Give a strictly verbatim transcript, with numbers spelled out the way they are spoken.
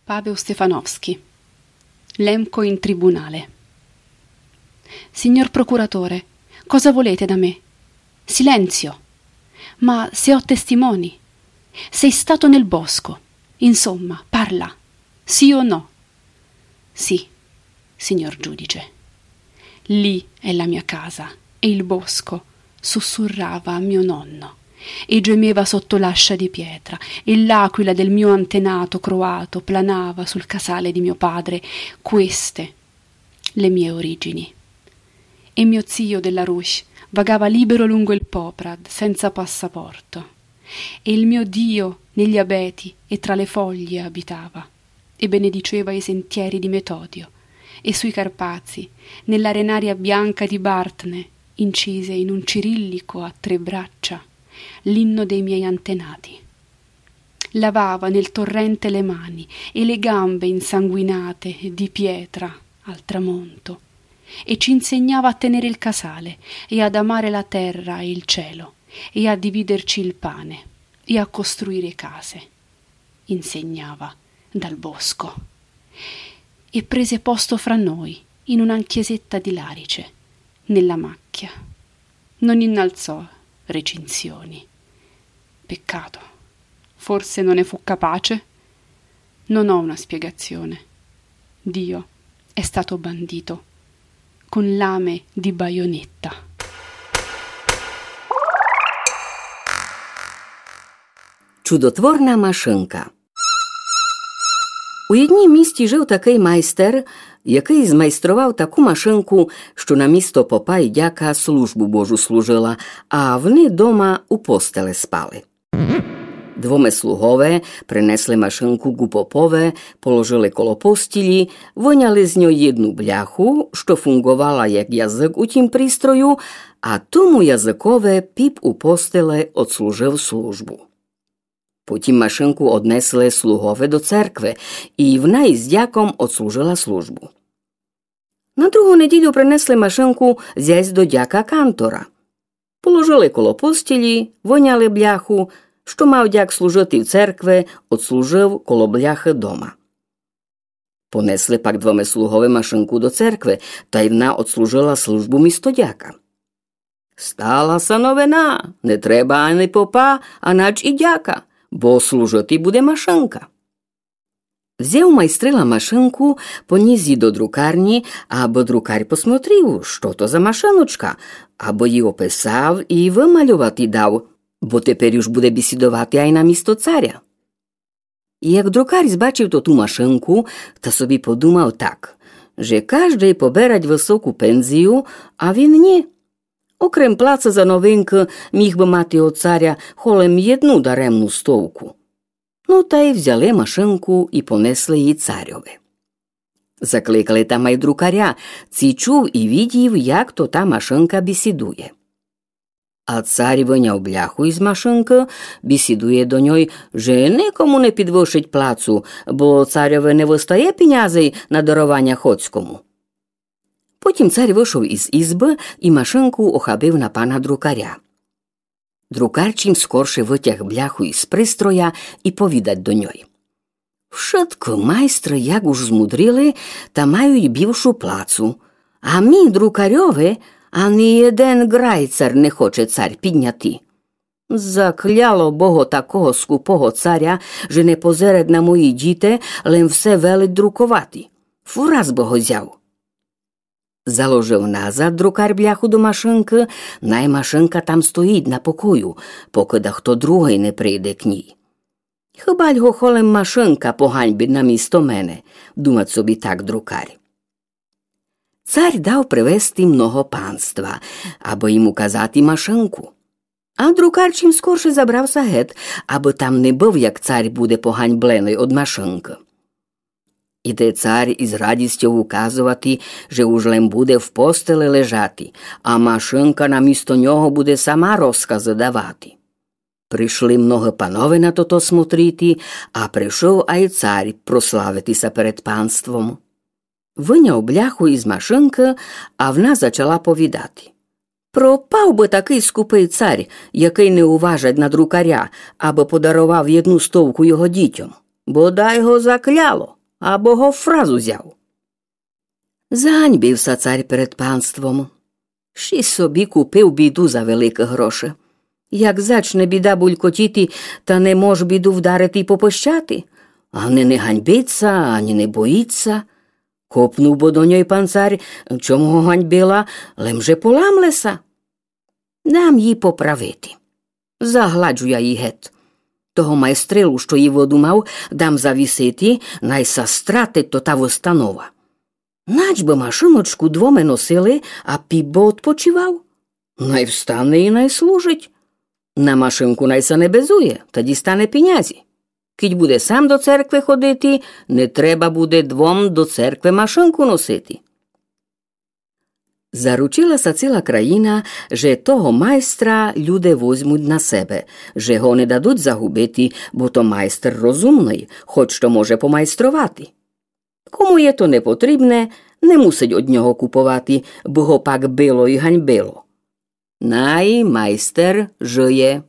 Pavel Stefanovski. Lemco in tribunale. Signor procuratore, cosa volete da me? Silenzio! Ma se ho testimoni? Sei stato nel bosco. Insomma, parla. Sì o no? Sì, signor giudice. Lì è la mia casa e il bosco, sussurrava mio nonno, e gemeva sotto l'ascia di pietra, e l'aquila del mio antenato croato planava sul casale di mio padre. Queste le mie origini. E mio zio della Rush vagava libero lungo il Poprad, senza passaporto. E il mio Dio negli abeti e tra le foglie abitava, e benediceva i sentieri di Metodio, e sui Carpazi, nell'arenaria bianca di Bartne, incise in un cirillico a tre braccia, l'inno dei miei antenati. Lavava nel torrente le mani e le gambe insanguinate di pietra al tramonto, e ci insegnava a tenere il casale e ad amare la terra e il cielo, e a dividerci il pane, e a costruire case. Insegnava dal bosco. E prese posto fra noi, in una chiesetta di larice, nella macchia. Non innalzò recinzioni. Peccato. Forse non ne fu capace? Non ho una spiegazione. Dio è stato bandito con lame di baionetta. Чудотворна машинка. У єднім місті жив такый майстер, якый змайстрував таку машинку, што на місто попа й дяка службу Божу служила, а вни дома у постеле спали. Двоме слугове принесли машинку ґу попове, положили коло постілі, выняли з ньой єдну бляху, што фунґовала як язык у тім пристрою, а тому языкове піп у постеле одслужив службу. Потім машинку однесли слугове до церкви, і вна із дяком одслужила службу. На другу неділю принесли машинку зясь до дяка кантора. Положили коло постілі, выняли бляху, што мав дяк служити в церкви, одслужив коло бляхы дома. Понесли пак двоме слугове машинку до церкви, тай вна одслужила службу місто дяка. Стала ся новина, не треба ани попа, анач і дяка, бо служити буде машинка. Взяв майстрила машинку, понїс ї до друкарнї, абы друкар посмотрив, што то за машиночка, абы ї описав і вымальовати дав, бо теперь уж буде бісідовати ай на місто царя. Як друкар збачив тоту машинку, та собі подумав так, же каждый поберать высоку пензію, а він нї. Окрем плаца за новинкы міг бы мати од царя холем єдну даремну стовку. Ну, тай взяли машинку і понесли ї царьови. Закликали там ай друкаря, ци чув і видїв, як то та машинка бісідує. А цар выняв бляху із машинкы, бісідує до ньой, же никому не підвышить плацу, бо царьови не выстає пінязей на дарованя хоцькому. Потім цар вышов із ізбы і машинку охабив на пана друкаря. Друкар чим скорше вытяг бляху із пристроя і повідать до ньой: Вшыткы майстры, як уж змудрили, та мають бівшу плацу. А мі, друкарьови, ани єден ґрайцар не хоче цар підняти. Закляло Бого такого скупого царя, же не позирать на мої дїти, лем все велить друковати. Фураз бы го зяв. Заложив назад друкар бляху до машинкы, най машинка там стоїть на покою, покы дахто другый не прийде к нїй. Хыбаль го холем машинка поганьбить на місто мене, думать собі так друкар. Цар дав привезти много панства, абы їм указати машинку. А друкар чим скорше забрав ся гет, абы там не быв, як цар буде поганьбленый од машинкы. Іде цар із радістьов указовати, же уж лем буде в постели лежати, а машинка на місто нього буде сама розказы давати. Пришли многы панове на тото смотрити, а пришов ай цар прославити ся перед панством. Выняв бляху із машинкы, а вна зачала повідати: Пропав бы такый скупый цар, якый не уважать на друкаря, абы подаровав єдну стовку його дїтьом. Бодай го закляло. або го фраз узяв. Заганьбив ся царь перед панством. Ще собі купив біду за великы гроши. Як зачне біда булькотіти, та не мож біду вдарити й попощати. Ани не ганьбить ся, ани не боїть ся. Копнув бо до ньой пан царь, чом го ганьбила, лем же поламле ся. Дам їй поправити. Загладжу я її гет. Того майстрилу, што її выдумав, дам завісити, най ся стратить тота выстанова. Нач бы машиночку двоме носили, а піп бы одпочивав. Най встане і най служить. На машинку най ся не безує, та дістане пінязі. Кідь буде сам до церкви ходити, не треба буде двом до церкви машинку носити. Заручила ся ціла країна, же того майстра люде возьмуть на себе, же го не дадуть загубити, бо то майстер розумный, хоч то може помайструвати. Кому є то непотрібне, не мусить од нього куповати, бо го пак било і ганьбило. Най майстер жиє.